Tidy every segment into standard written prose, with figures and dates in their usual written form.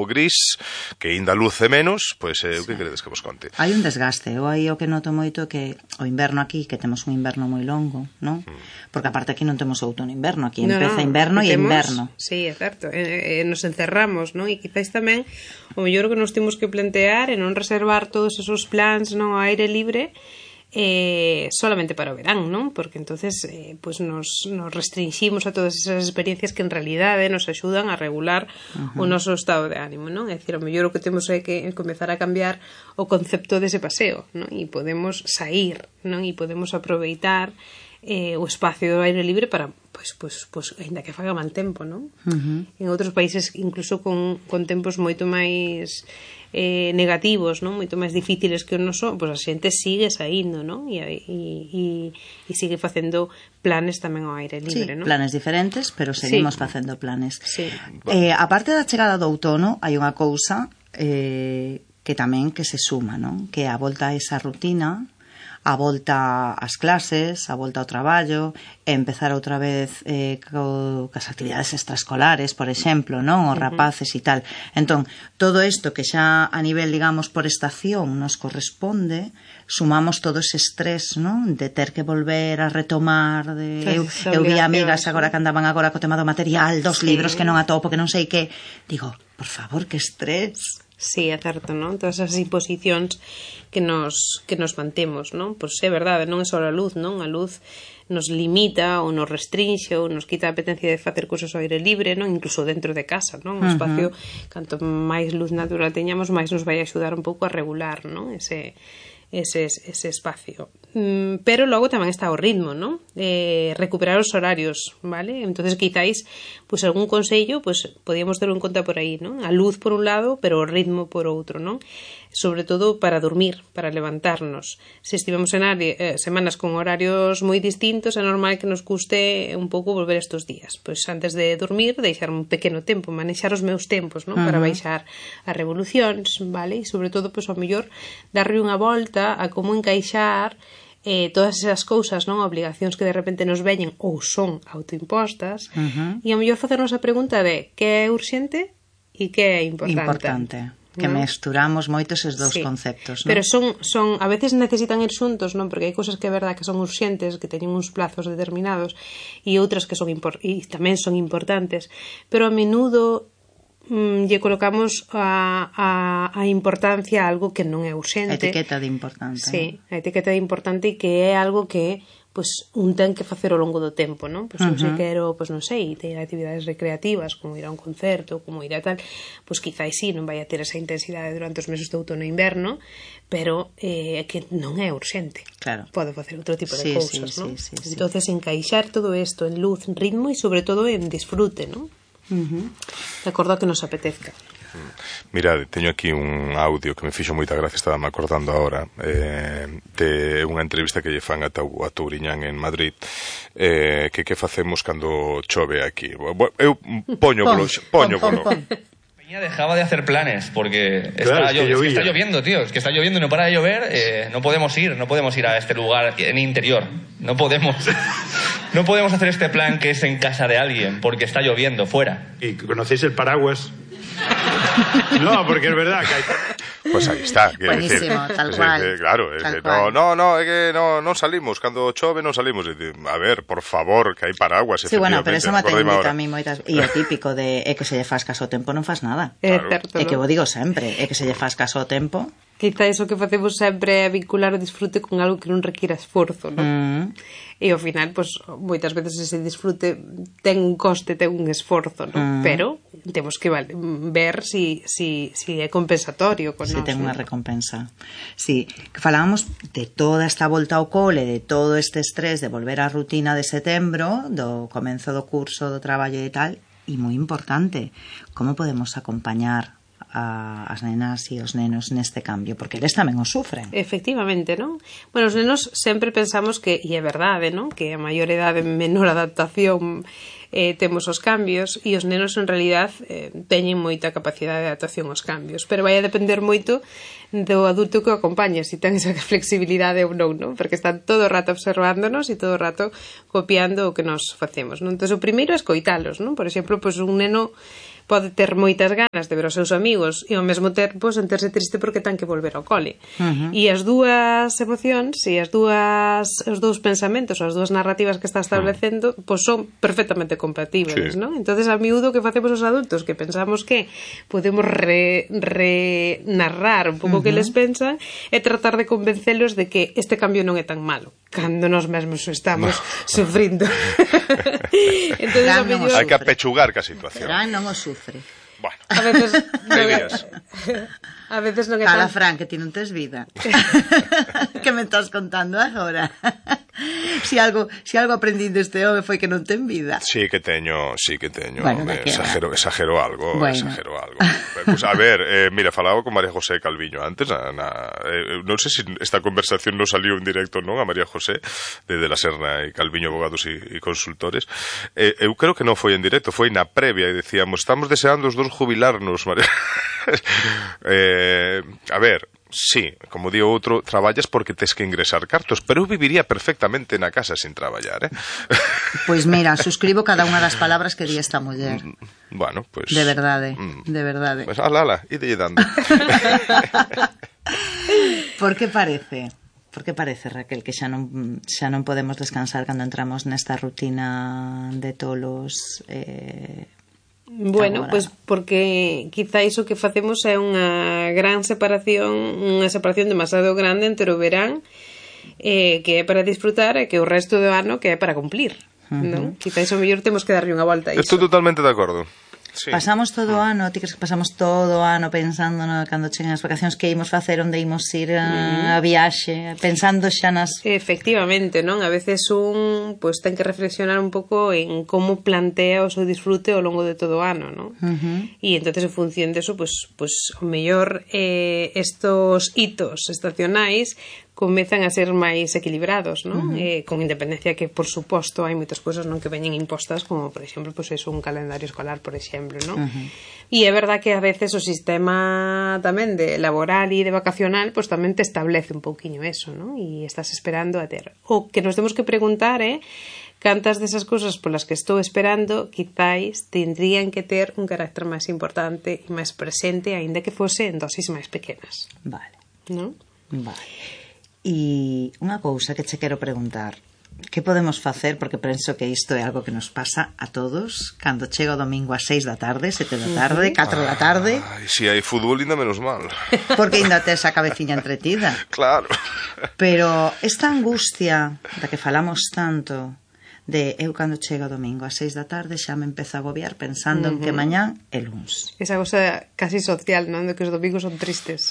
gris, que ainda luce menos, pois o que queredes que vos conte? Hai un desgaste, eu aí o que noto moito que o inverno aquí, que temos un inverno moi longo, non? Porque aparte aquí non temos outono inverno, aquí empeza inverno e inverno. Sí, é certo, nos encerramos, non? E quizás tamén o mellor que nos temos que plantear é non reservar todos esos plans non ao aire libre solamente para o verán, non? Porque entonces pues nos restringimos a todas esas experiencias que en realidade nos axudan a regular o noso estado de ánimo, non? É dicir, o mellor o que temos é que comezar a cambiar o concepto dese paseo, non? E podemos sair, non? E podemos aproveitar o espacio do aire libre para pues ainda que faga mal tempo, non? En outros países incluso con tempos moito máis negativos, non? Moito máis difíciles que o noso, pois a xente sigue saindo, non? E sigue facendo planes tamén ao aire libre, non? Planes diferentes, pero seguimos facendo planes. A parte da chegada do outono, hai unha cousa que tamén que se suma, non? Que é a volta a esa rutina, a volta ás clases, a volta ao traballo, e empezar outra vez cas actividades extraescolares, por exemplo, non? Os rapaces e tal. Entón, todo isto que xa a nivel, digamos, por estación nos corresponde, sumamos todo ese estrés, non? De ter que volver a retomar, eu vi amigas agora que andaban agora co tema do material, dos libros que non atopo, que non sei que, digo, por favor, que estrés. Sí, é certo, non? Todas as imposicións que nos mantemos, non? Pois é verdade, non é só a luz, non? A luz nos limita ou nos restringe ou nos quita a apetencia de facer cousas ao aire libre, non? Incluso dentro de casa, non? O espacio, canto máis luz natural teñamos, máis nos vai axudar un pouco a regular, non? Ese espacio. Pero logo tamén está o ritmo, non? Recuperar os horarios, vale? Entonces quizáis, pues algún consello, pues podíamos ter en conta por aí, non? A luz por un lado, pero o ritmo por outro, non? Sobre todo para dormir, para levantarnos. Se estivemos en semanas con horarios moi distintos, é normal que nos custe un pouco volver estes días. Pois antes de dormir, deixar un pequeno tempo, manexar os meus tempos, non? Para baixar as revolucións, vale? E sobre todo, pois ao mellor, darlle unha volta a como encaixar todas esas cousas, non? Obligacións que de repente nos veñen ou son autoimpostas, e ao mellor facernos a pregunta de que é urxente e que é importante. Que mesturamos moito eses dous conceptos, non? Pero son a veces necesitan ir xuntos, non? Porque hai cousas que é verdad que son urxentes, que teñen uns plazos determinados, e outras que son e tamén son importantes, pero a menudo lle colocamos a importancia a algo que non é urxente. A etiqueta de importante. Sí, a etiqueta de importante, que é algo que pois un ten que facer ao longo do tempo, non? Pois se quero, pois non sei, ter actividades recreativas, como ir a un concerto, como ir a tal, pois quizás sí, non vai a ter esa intensidade durante os meses de outono e inverno, pero que non é urxente. Claro. Pode facer outro tipo de cousas, non? Entonces, encaixar todo isto en luz, en ritmo e sobre todo en disfrute, non? De acordo a que nos apetezca. Mirade, teño aquí un audio que me fixo moita gracia, estaba me acordando agora, de unha entrevista que lle fan a Touriñán en Madrid, que facemos cando chove aquí. Eu poño polo. Peña dejaba de hacer planes porque está lloviendo, tío, es que está lloviendo y no para de llover, no podemos ir a este lugar en interior, no podemos hacer este plan que es en casa de alguien porque está lloviendo fuera. ¿Y conocéis el paraguas? No, porque es verdad que hay... Pues ahí está. Buenísimo, tal cual. Claro, é que non salimos, cando chove non salimos. A ver, por favor, que hai paraguas. Sí, bueno, pero eso me ten dito a mí moitas... E o típico de que se lle faz caso ao tempo non faz nada. Certo, é que vos digo sempre, é que se lle faz caso ao tempo. Quizá iso que facemos sempre é vincular o disfrute con algo que non requira esforzo, non? E ao final, pois, moitas veces ese disfrute ten un coste, ten un esforzo, non? Pero temos que ver si é compensatorio con nós. Si ten unha recompensa. Si, que falábamos de toda esta volta ao cole, de todo este estrés de volver á rutina de setembro, do comenzo do curso, do traballo e tal, e moi importante, como podemos acompañar as nenas e os nenos neste cambio, porque eles tamén o sufren. Efectivamente, non? Bueno, os nenos sempre pensamos que, e é verdade, non? Que a maior idade, menor adaptación temos os cambios, e os nenos en realidad teñen moita capacidade de adaptación aos cambios, pero vai a depender moito do adulto que o acompaña, se ten esa flexibilidade ou non, non? Porque están todo o rato observándonos e todo o rato copiando o que nos facemos, non? Entón, o primeiro é escoitalos, non? Por exemplo, pois un neno pode ter moitas ganas de ver os seus amigos e ao mesmo tempo sentirse triste porque ten que volver ao cole. E as dúas emocións e os dous pensamentos, as dúas narrativas que está establecendo, pois son perfectamente compatibles, non? Entonces, a miúdo que facemos os adultos que pensamos que podemos narrar un pouco que les pensan e tratar de convencelos de que este cambio non é tan malo, cando nós mesmos estamos sufrindo. Entonces, hai que apechugar ca situación. Fran non o sufre. Bueno, a veces non é tan... Cala, Fran, que ti non tes vida. Que me estás contando agora? Si algo aprendín deste home foi que non ten vida. Sí que teño. Bueno, exagero algo. Pues, a ver, mira, falaba con María José Calviño antes, non sei se esta conversación non saliu en directo, non, a María José de la Serna e Calviño Abogados e Consultores. Eu creo que non foi en directo, foi na previa e decíamos, estamos deseando os dos jubilarnos, María. A ver, sí, como di outro, traballas porque tes que ingresar cartos, pero eu viviría perfectamente na casa sin traballar, Pois mira, suscribo cada unha das palabras que di esta muller. Bueno, pois... De verdade, de verdade. Pois, ala, ide dando. Por que parece, Raquel, que xa non podemos descansar cando entramos nesta rutina de tolos... Bueno, pois porque quizá iso que facemos é unha gran separación, unha separación demasiado grande entre o verán que é para disfrutar e que o resto do ano que é para cumplir, non? Quizá iso mellor temos que darlle unha volta a iso. Estou totalmente de acordo. Sí. Pasamos todo o ano, ti crees que pasamos todo o ano pensando cando cheguen as vacacións que imos facer, onde imos ir a viaxe, pensando xa nas... Efectivamente, non? A veces un pues, ten que reflexionar un pouco en como plantea o seu disfrute ao longo de todo o ano, non? E entonces en función de eso, pues o mellor estos hitos estacionais comezan a ser máis equilibrados, non? Con independencia que, por suposto, hai moitas cousas non que veñen impostas, como, por exemplo, pues eso, un calendario escolar, por exemplo, non? E é verdad que a veces o sistema tamén de laboral e de vacacional, pues tamén te establece un pouquiño eso, non? E estás esperando a ter. O que nos temos que preguntar é cantas desas cousas polas que estou esperando quizáis tendrían que ter un carácter máis importante e máis presente, aínda que fose en dosis máis pequenas. Vale. Non? Vale. E unha cousa que che quero preguntar, que podemos facer, porque penso que isto é algo que nos pasa a todos cando chega o domingo a 6 da tarde, 7 da tarde, 4 da tarde. Si hai fútbol ainda menos mal, porque ainda tes a cabeciña entretida. Claro. Pero esta angustia da que falamos tanto, de eu cando chega o domingo a 6 da tarde xa me empezo a agobiar pensando en que mañán é luns. Esa cosa casi social, non? De que os domingos son tristes.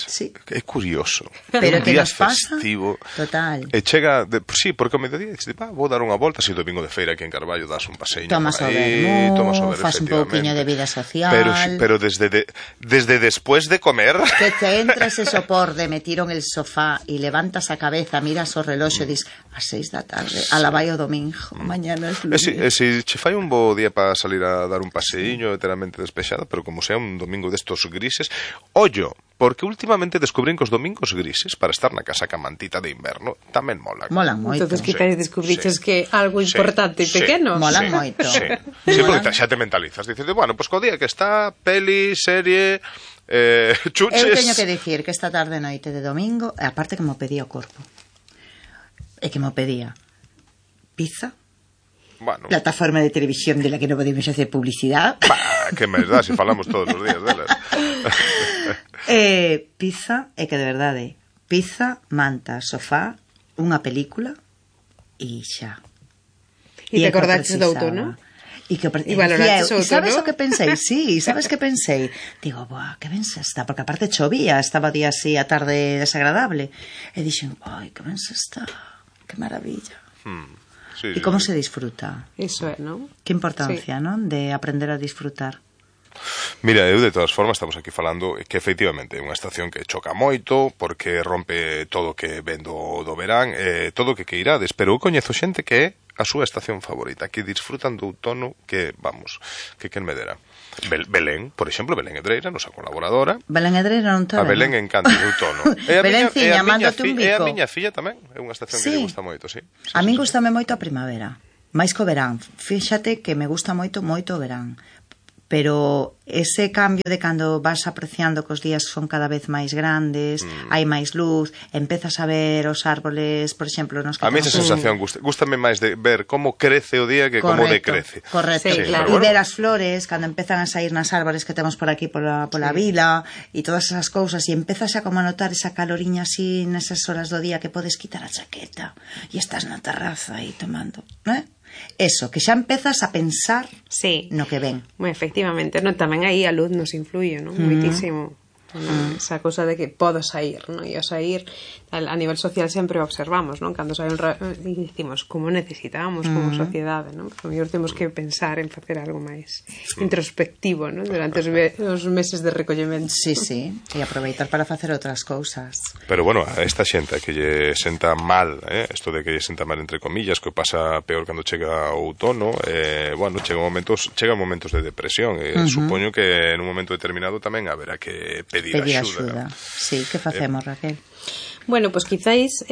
Sí. É curioso. Pero un que día nos pasa festivo. total. E chega, sí, porque ao mediodía dices, vou dar unha volta, si domingo de feira aquí en Carballo das un paseño. Tomas o vermú, faz un pouquiño de vida social. Pero desde después de comer... Que te entras ese sopor de metiron el sofá e levantas a cabeza, miras o reloxo e dis, a 6 da tarde, ala vai o domingo, mañana es lunes. Si che fai un bo día para salir a dar un paseíño enteramente despexada, pero como sea un domingo destos grises, ollo, porque últimamente descubrín que os domingos grises para estar na casa ca mantita de inverno tamén molan. Molan moito. Entonces quizáis descubriches que algo importante e pequeno. Molan moito. Sí, porque xa te mentalizas. Dices, bueno, pues co día que está, peli, serie, chuches... Eu teño que dicir que esta tarde noite de domingo, aparte que mo pedía o corpo, e que mo pedía pizza, bueno, plataforma de televisión de la que non podemos hacer publicidad. Que me dá, se falamos todos os días delas. Pizza, e que de verdade, pizza, manta, sofá, unha película e xa. E te acordaches do outono? E valoraches o outono? E sabes o que pensei? Sí, sabes que pensei? Digo, boa, que ben se está, porque aparte chovía, estaba día así a tarde desagradable. E dixen, ai, que ben se está, que maravilla. Sí, e como se disfruta? Iso é, non? Que importancia, non? De aprender a disfrutar. Mira, eu de todas formas estamos aquí falando que efectivamente é unha estación que choca moito porque rompe todo o que ven do verán, todo o que queirades, pero eu coñezo xente que é a súa estación favorita, que disfrutan do outono, que, vamos, que quen me dera. Belén, por exemplo, Belén Edreira, nosa colaboradora. Belén Edreira non está. A Belén encanta o outono. Belénciña, mándote un bico. É a miña filla tamén, é unha estación que lle gusta moito, sí. A min gustame moito a primavera, máis co verán. Fíxate que me gusta moito o verán. pero ese cambio de cando vas apreciando que os días son cada vez máis grandes, hai máis luz, empezas a ver os árboles, por exemplo, nos que a mí esa sensación gústame máis de ver como crece o día que como decrece. Correcto, sí, claro. E ver as flores cando empezan a sair nas árboles que temos por aquí pola vila e todas esas cousas, e empezas a como a notar esa caloriña así nesas horas do día que podes quitar a chaqueta e estás na terraza aí tomando, eso, que xa empezas a pensar no que ven. Efectivamente, tamén aí a luz nos influye, moitísimo. Esa cosa de que podo sair, e ao sair a nivel social sempre o observamos, cando sai e dicimos como necesitamos como sociedade, porque mellor temos que pensar en facer algo máis introspectivo, durante os meses de recollemento. Sí, e aproveitar para facer outras cousas. Pero bueno, a esta xente que lle senta mal, isto de que lle senta mal entre comillas, que pasa peor cando chega o outono, bueno, chegan momentos de depresión, supoño que en un momento determinado tamén haberá que pedir axuda. Sí, que facemos, Raquel? Bueno, pois quizáis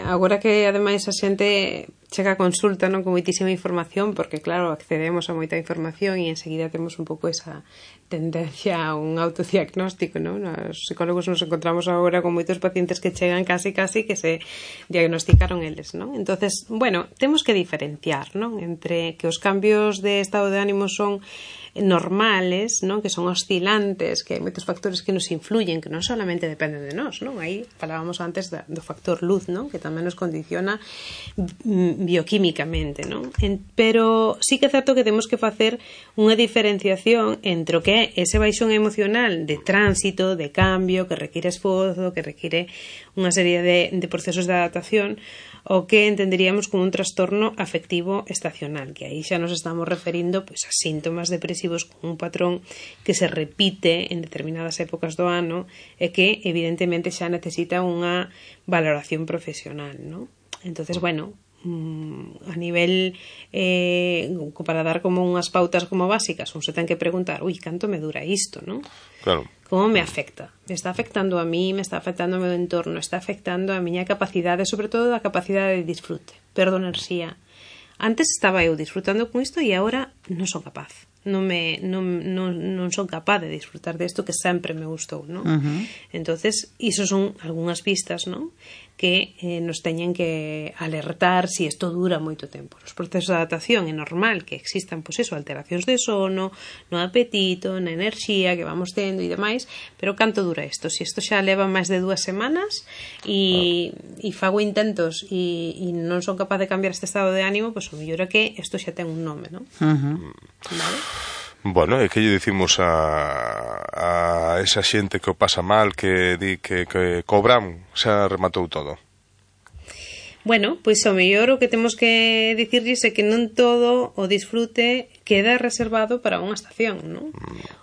agora que ademais a xente chega a consulta con moitísima información, porque claro, accedemos a moita información e enseguida temos un pouco esa tendencia a un autodiagnóstico, Os psicólogos nos encontramos agora con moitos pacientes que chegan casi que se diagnosticaron eles, Entonces, bueno, temos que diferenciar, entre que os cambios de estado de ánimo son normales, que son oscilantes, que hai moitos factores que nos influyen, que non solamente dependen de nós, Aí falábamos antes do factor luz, que tamén nos condiciona bioquímicamente, Pero sí que é certo que temos que facer unha diferenciación entre o que é ese baixón emocional de tránsito, de cambio, que require esforzo, que require unha serie de procesos de adaptación, o que entenderíamos como un trastorno afectivo estacional, que aí xa nos estamos referindo a síntomas depresivos con un patrón que se repite en determinadas épocas do ano e que evidentemente xa necesita unha valoración profesional, Entonces, bueno, a nivel para dar como unhas pautas como básicas, un se ten que preguntar, canto me dura isto, Claro. Como me afecta? Me está afectando a mí, me está afectando ao meu entorno, está afectando a miña capacidade, sobre todo a capacidade de disfrute, perdo enerxía. Antes estaba eu disfrutando con isto e agora non son capaz. Non son capaz de disfrutar desto que sempre me gustou, Entonces, iso son algunhas pistas, que nos teñen que alertar si isto dura moito tempo. Os procesos de adaptación é normal que existan, alteracións de sono, no apetito, na enerxía que vamos tendo e demais, pero canto dura isto? Si isto xa leva máis de 2 semanas e fago intentos e non son capaz de cambiar este estado de ánimo, o mellor é que isto xa ten un nome, Vale? Bueno, e que lle dicimos a esa xente que o pasa mal, que di que cobran, xa rematou todo? Bueno, pois ao mellor o que temos que dicirlles é que non todo o disfrute queda reservado para unha estación,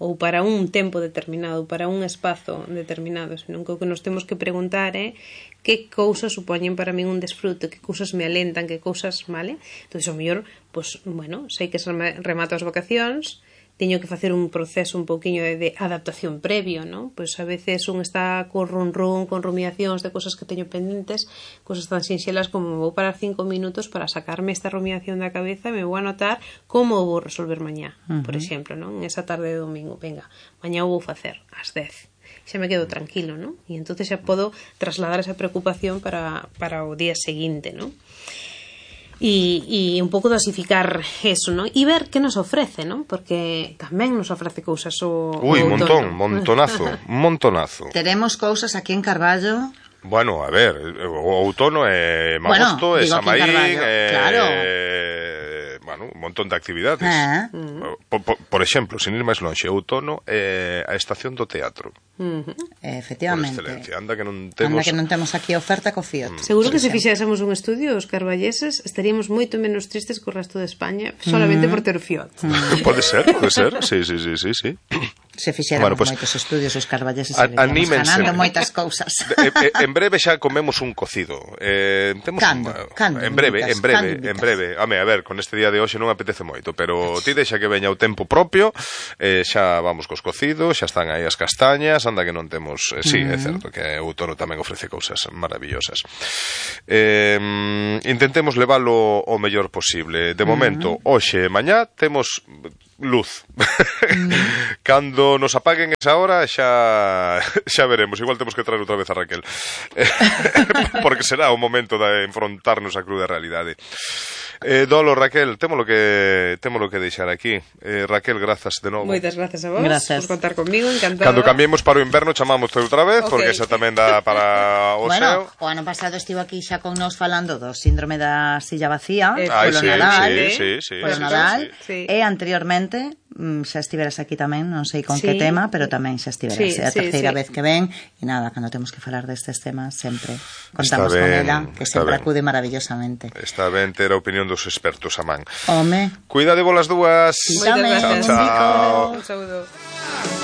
ou para un tempo determinado, para un espazo determinado, senón que o que nos temos que preguntar é que cousas supoñen para min un disfrute, que cousas me alentan, que cousas, vale? Entón, ao mellor, pois, bueno, sei que se remata as vacacións, teño que facer un proceso un pouquiño de adaptación previo, Pois a veces un está con con rumiacións de cosas que teño pendentes, cosas tan sinxelas como me vou parar 5 minutos para sacarme esta rumiación da cabeza e me vou anotar como vou resolver mañá, por exemplo, en esa tarde de domingo, venga, mañá o vou facer ás 10. Xa me quedo tranquilo, E entonces xa podo trasladar esa preocupación para o día seguinte, E un pouco dosificar eso, e ver que nos ofrece, porque tamén nos ofrece cousas o montonazo. Teremos cousas aquí en Carballo. Bueno, a ver, o outono é magosto, é Samaín, bueno, un montón de actividades. Por exemplo, sin ir máis lonxe, outono é a estación do teatro. Efectivamente. Por excelencia, anda que non temos aquí oferta co Fiat. Seguro que se fixésemos un estudio, os carballeses estaríamos moito menos tristes co resto de España solamente por ter o Fiat. Pode ser, sí. Se fixéramos moitos estudios os carballeses estaríamos ganando moitas cousas. En breve xa comemos un cocido. Cando? En breve. Home, a ver, con este día de hoxe non apetece moito, pero ti deixa que veña o tempo propio, xa vamos cos cocidos, xa están aí as castañas, anda que non temos... Sí, é certo que o outono tamén ofrece cousas maravillosas. Intentemos leválo o mellor posible. De momento, hoxe e mañá temos luz. Cando nos apaguen esa hora xa veremos, igual temos que traer outra vez a Raquel. Porque será o momento de enfrontarnos á cruda realidade. Dolo, Raquel, témolo que deixar aquí. Raquel, grazas de novo. Moitas grazas a vos por contar comigo, encantada. Cando cambiemos para o inverno chamamos outra vez, porque esa tamén dá para o bueno, xeo. O ano pasado estivo aquí xa con nos falando do síndrome da silla vacía, polo Nadal, polo Nadal, e anteriormente xa estiveras aquí tamén, non sei con que tema, pero tamén xa estiveras. É a terceira vez que ven, e nada, cando temos que falar destes temas sempre contamos con ela, que sempre acude maravillosamente. Está ben ter a opinión dos expertos a man. Home. Cuidade vos las dúas. Chao, chao. Un saúdo.